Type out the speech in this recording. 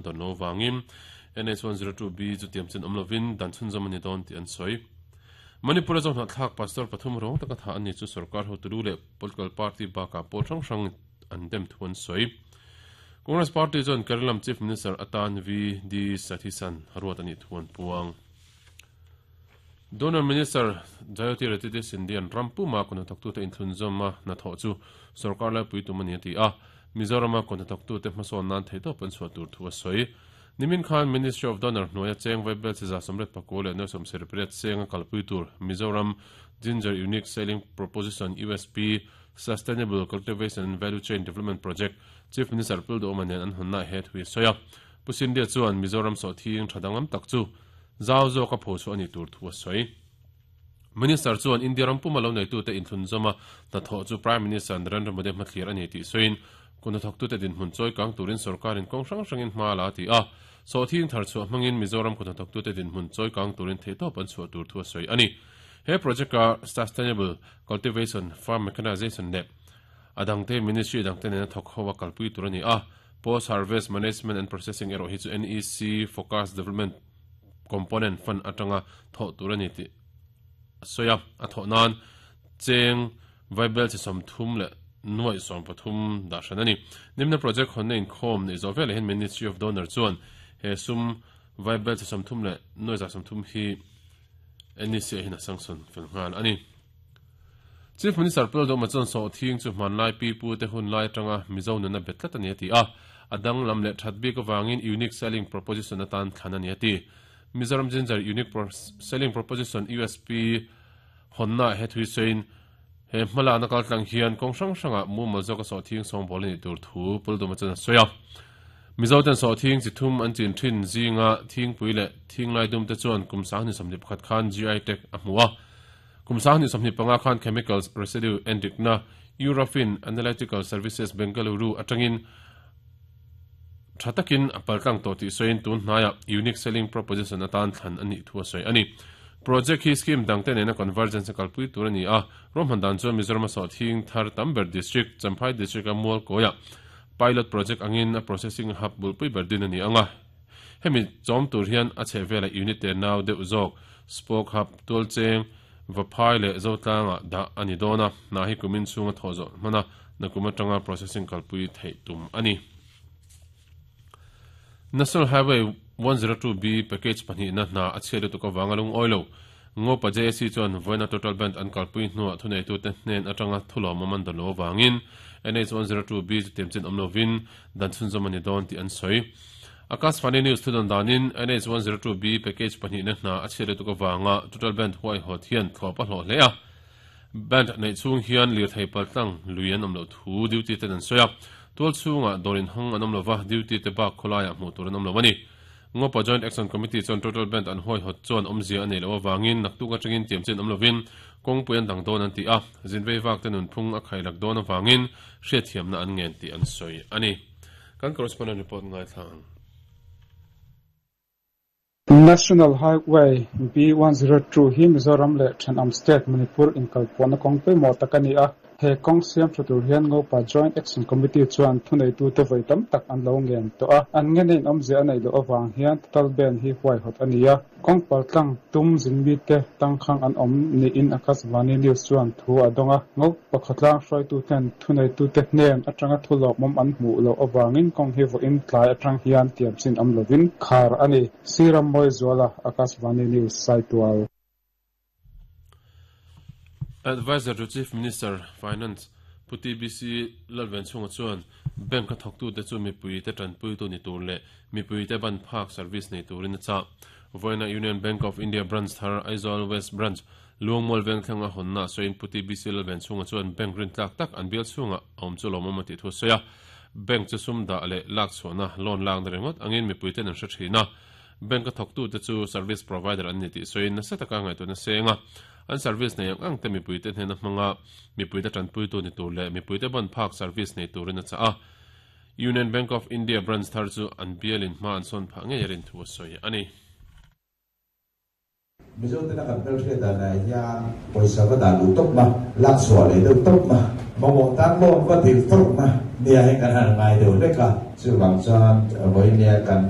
dawn lo vangin NH 102B chu tiam chin awm lovin dan chhunzawm a ni dawn tih an sawi. Manipur-a zohnahthlak pastor pathum rawng taka thah an ni chu sorkar hotulu leh political party bakah pawl hrang hrang an dem thu an sawi. Congress party chuan Kerala Chief Minister atan VD Sathisan ruat a nih thu an puang. Donor Minister Jyotiraditya Scindia-a'n ram puma kut hnathawktute inthlunzawma hnathawh chu sorkar laipui tum a ni a ti a, Mizorama kut hnathawktute hmasawn nan theihtawp an chhuah tur thu a sawi. Nimin khan Ministry of Donor hnuaia cheng vaibel chi 198.78 senga kalpui tur Mizoram Ginger Unique Selling Proposition, USP, Sustainable Cultivation and Value Chain Development Project Chief Minister Pul Duhoma nen an hawnnaah he thu hi a sawi a. Pu Scindia chuan Mizoram sawhthing tha danglam tak chu zau zawka phochhuah a nih tur thu a sawi. Minister chuan India ram puma lo neitute inthlunzawma hnathawh chu Prime Minister Narendra Modi hmathlir a ni tih sawiin kut hnathawktute dinhmun chawi kang turin sorkarin kawng hrang hrangin hma a la a ti a. Sawhthing thar chhuah hmangin Mizoram kut hnathawktute dinhmun chawi kang turin theihtawp an chhuah tur thu a sawi a ni. He project-a Sustainable Cultivation, Farm Mechanization leh a dangte Ministry dangte nena thawk ho a kalpui tur a ni a. Post Harvest Management and Processing erawh hi chu NEC Focus Development Component Fund atanga thawh tur a ni tih a sawi a. A thawh nan cheng vaibel chi 30 leh nuaih 13 dah hran a ni. Nimna project hawnna inkhawm neih zawh velah hian Ministry of Donor chuan he sum vaibel chi 30 leh nuaih 30 hi NEC ah hian a sanction fel nghal a ni. Chief Minister Pu Lalduhma chuan sawhthing chu hmanlai pi pu te hun lai atanga Mizo nuna bet tlat a ni a ti a, a danglam leh that bik avangin Unique Selling Proposition atan thlan a ni a ti. Mizoram Ginger Unique Selling Proposition, USP, hawnnaah he thui sawiin he hmalakna kaltlang hian kawng hrang hrangah mumal zawka sawhthing sawngbawl a nih tur thu Pu Lalduhma chuan a sawi a. Mizo ten sawhthing chi thum an chin thin zinga thingpui leh thinglai dum te chuan kum 2021 khan GI tag a hmu a. Kum 2025 khan Chemicals Residue endikna Eurofin Analytical Services Bengaluru atangin tha takin a paltlang tawh tih sawiin tun hnaiah Unique Selling Proposition atan thlan a nih thu a sawi a ni. Project hi scheme dangte nena convergence a kalpui tur a ni a, ruahman dan chuan Mizoram a sawhthing thar tam ber district, Champhai District-a Mualkawiah pilot project angin a processing hub bulpui ber din a ni ang a. Hemi chawm tur hian a chhehvelah unit te nau deuh zawk, spoke hub, tualcheng, Vaphai leh Zotlangah dah a ni dawn a, hna hi kumin chhunga thawh zawh hman a, nakum atanga processing kalpui theih tum a ni. National Highway 102B package pahnihna hna a chhiat lutuk avanga lungawi lo. Ngopa JAC chuan vawiina total band an kalpui hnuah thuneitute hnen atanga thulawmawm an dawn lo avangin NH 102B chu tiamchin awm lovin dan chhunzawm a ni dawn tih an sawi. Akashvani News thudawn danin NH 102B package pahnihna hna a chhiat lutuk avanga total band huaihawt hian thlawp a hlawh hle a. Band neih chhung hian lirthei paltlang lui an awm loh thu duty ten an sawi a. Tual chhungah dawr inhawng an awm lova, duty te bak khawlaiah hmuh tur an awm lo a ni. Ngopa Joint Action Committee chuan total band an huaihawt chuan awmzia a neih loh avangin naktuk atangin tiamchin awm lovin kawngpui an dang dawn an ti a, zinvei vak te nunphung a khailak dawn avangin hriatthiamna an ngen tih an sawi a ni. Kan correspondent report ngaithla ang. National Highway B102 hi Mizoram leh thenawm state Manipur inkalpawhna kawng pawimawh tak a ni a. He kawng siam tha tur hian Ngopa Joint Action Committee chuan thuneitute vawi tam tak an lo ngen tawh a. An ngen in awmzia a neih loh avang hian total ban hi huaihawt a ni a. Kawng paltlang tum zinmite tangkhang an awm niin Akashvani News chuan thu a dawng a. Ngopa khawtlang hruaituten thuneitute hnen atanga thu lawmawm an hmuh loh avangin kawng hi vawiin tlai atang hian tiamchin awm lovin khar a ni. Sir Rammawizuala, Akashvani News, Saitual. Adviser to Chief Minister, Finance, Pu TBC Lalvenchhunga chuan Bank a thawktute chu mipuite tanpuitu ni tur leh mipuite ban phak service nei turin a chah. Vawiina Union Bank of India Branch thar Aizawl West Branch, Luangmual Vengthlenga hawnna sawiin Pu TBC Lalvenchhunga chuan bank rintlak tak an bial chhungah a awm chu lawmawm a tih thu a sawi a. Bank chu sum dah leh lak chhuahna loan lakna ringawt angin mipuiten an hre thin a. Bank a thawktute chu service provider an ni tih sawiin nasa taka ngaihtuahna seng a, an service nei ang ang te mipuite hnena hmanga mipuite tanpuitu ni tur leh mipuite ban phak service nei turin a chah a. Union Bank of India branch thar chu an bialin hma an sawn phah ngei a rin thu a sawi a ni. Mizo tena kan hmelhriat danah hian pawisa va dah luh tawpna, lak chhuah leh deuh tawpna, mamawh tan loan va dil tawpna nia hi kan han ngai deuh hlek a. Chuvang chuan vawinia kan.